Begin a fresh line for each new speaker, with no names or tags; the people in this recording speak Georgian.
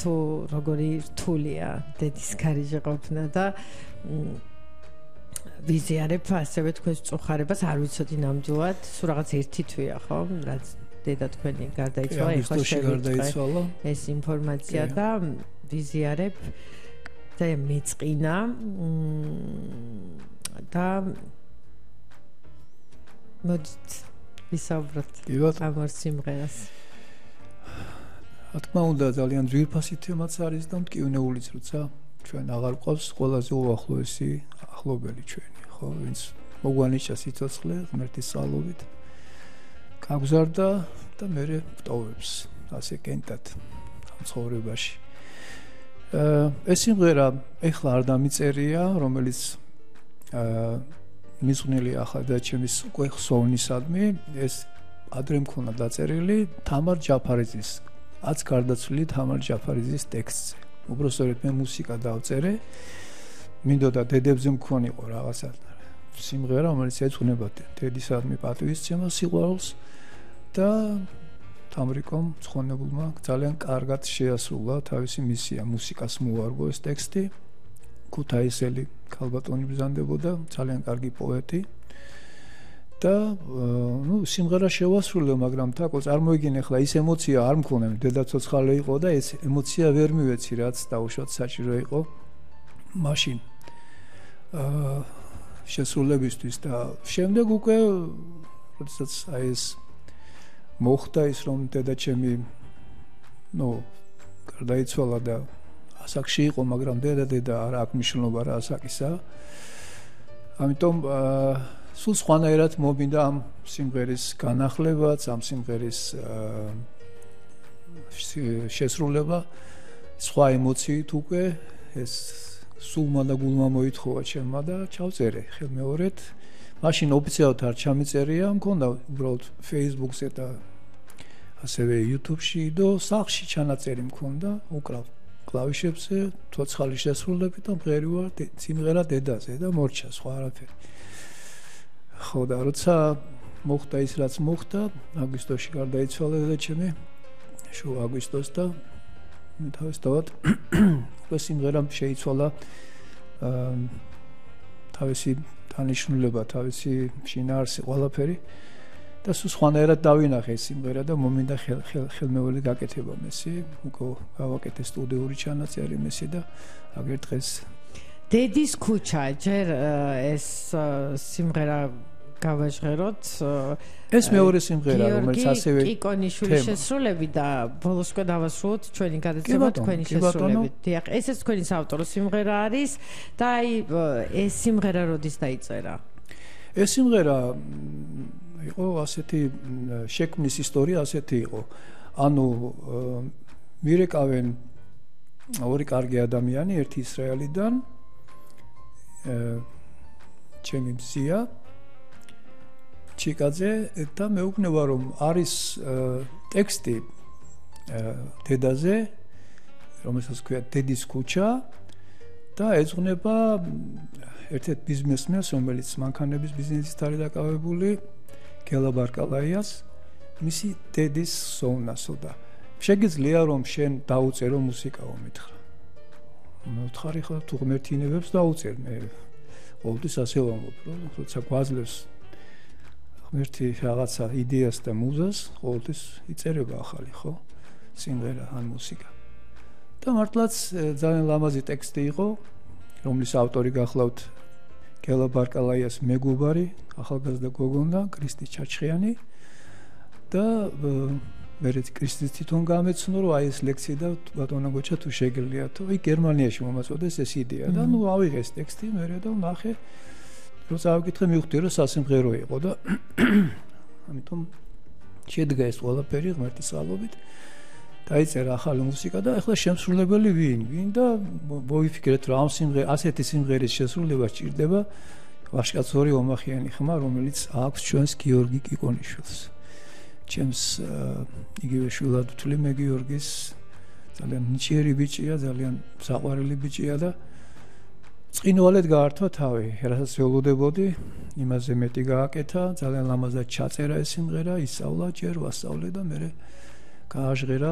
თუ როგორი რთულია დედის გარეშე ყოფნა და ვიზიარებ ასევე თქვენს წუხარებას არ ვიცოდი ნამდვილად სულ რაღაც ერთი თვეა ხო რაც დედა თქვენი გარდაიცვალა ეხლა შევიწყე ეს ინფორმაცია და ვიზიარებ და მეწყინა და მოდით ვისაუბროთ ამ ორ სიმღერას
რა თქმა უნდა ძალიან ძვირფასი თემაც არის და მტკივნეულიც როცა ჩვენ აღარ ყავს ყველაზე უახლოესი ახლობელი ჩვენი ხო ვინც მოგვანიჭა სიცოცხლე ღმერთის წყალობით გაგზარდა და მე ვტოვებს ასე კენტად ამ ცხოვრებაში ეს სიმღერა ეხლა არ დამიწერია რომელიც მიზღვნილი ახლა და ჩემის უკვე ხსოვნისადმი ეს ადრე მქონდა დაწერილი თამარ ჯაფარიძის აც გარდაცვლილი თამარ ჯაფარიძის ტექსტზე უბრალოდ მე მუსიკა დავწერე მინდოდა დედებზე მქონიყო რაღაცა სიმღერა რომელიც ეძღვნება დედისადმი პატივისცემას სიყვარულს და თამრიკომ ცხონებულმა ძალიან კარგად შეასრულა თავისი მისია მუსიკას მოარგო ეს ტექსტი ქუთაისელი ქალბატონი ბრძანდებოდა ძალიან კარგი პოეტი და სიმღერა შევასრულე მაგრამ თაკო წარმოიგინე ხლა ის ემოცია არ მქონდა დედაცოცხალე იყო და ეს ემოცია ვერ მივეცი რაც დაუშვათ საჭირო იყო მაშინ შესრულებისთვის და შემდეგ უკვე როდესაც აი ეს მოხდა ის რომ დედაჩემი გარდაიცვალა და ასაკში იყო მაგრამ დედა არ აქვს მნიშვნელობა რა ასაკისა ამიტომ სულ სხვანაირად მომინდა ამ სიმღერის განახლებაც ამ სიმღერის შესრულება სხვა ემოციით უკვე ეს სულმა და გულმა მოითხოვა ჩემმა და ჩავწერე ხელმეორედ მაშინ ოფიციალურად არ ჩამიწერია მქონდა უბრალოდ Facebook-ზე და ასევე YouTube-ში და სახლში ჩანაწერი მქონდა უკრავ კლავიშებზე ცოცხალი შესრულებით და მღერივარ სიმღერა დედაზე და მორჩა სხვა არაფერი ხო და როცა მოხდა ის რაც მოხდა აგვისტოში გარდაიცვალა დედაჩემი შუა აგვისტოს და თავისთავად უკვე სიმღერამ შეიცვალა თავისი დანიშნულება თავისი შინაარსი ყველაფერი და სულ სხვანაირად დავინახე ეს სიმღერა და მომინდა ხელმეორედ გაკეთება მესი უკვე გავაკეთე სტუდიური ჩანაწერი მესი და აგერ დღეს
დედის ქუჩა ჯერ ეს სიმღერა გავაჟღეროთ
ეს მეორე სიმღერა რომელიც ასევე
კიკონიშვილის შესრულები და ბოლოსკო დავასრულოთ ჩვენი გადაცემა თქვენი შესრულებით დიახ ეს თქვენი საავტორო სიმღერა არის და აი ეს სიმღერა როდის დაიწერა
ეს სიმღერა იყო ასეთი შექმნის ისტორია ასეთი იყო ანუ მირეკავენ ორი კარგი ადამიანი ერთი ისრაელიდან ჩემი მზია ჩიკაძე და მეუბნება რომ არის ტექსტი დედაზე რომელსაც ქვია დედის ქუჩა და ეძღვნება ერთ-ერთ ბიზნესმენს რომელიც მანქანების ბიზნესით არის დაკავებული გელა ბარკალაიას მისი დედის სოვნასო და შეგიძლია რომ შენ დაუწერო მუსიკაო მითხრა მოთხარი ხო თუ ღმერთინებებს დაუწერ მე ყოველთვის ასე ვამბობ რომ როცა გვაძლევს ღმერთი რაღაცა იდეას და მუზას ყოველთვის იწერება ახალი ხო სიმღერა ან მუსიკა და მართლაც ძალიან ლამაზი ტექსტი იყო რომლის ავტორი გახლავთ გელა ბარკალაიას მეგობარი ახალგაზრდა გოგონა კრისტი ჩაჩხიანი და მე კრისტის თვითონ გამეცნო რომ აი ეს ლექსი და ბატონო გოჩა თუ შეგიძლია თუ აი გერმანიაში მომაწოდეს ეს იდეა და ნუ ავიღე ეს ტექსტი მე და ნახე როცა ავიკითხე მივხვდი რომ სასიმღერო იყო და ამიტომ შედგა ეს ყველაფერი ღმერთის წყალობით დაიწერა ახალი მუსიკა და ახლა შემსრულებელი ვინ და მოვიფიქრეთ რომ ამ ასეთი სიმღერის შესრულება სჭირდება ვაჟკაცორი ომახიანი ხმა რომელიც აქვს ჩვენს გიორგი კიკონიშვილს ჩემს იგივე შვილად ვთვლი მე გიორგის ძალიან ნიჭიერი ბიჭია ძალიან საყვარელი ბიჭია და წინვალედ გაართვა თავი რასაც ველოდებოდი იმაზე მეტი გააკეთა ძალიან ლამაზად ჩაწერა ეს სიმღერა ისწავლა ჯერ ვასწავლე და მე გააჟღერა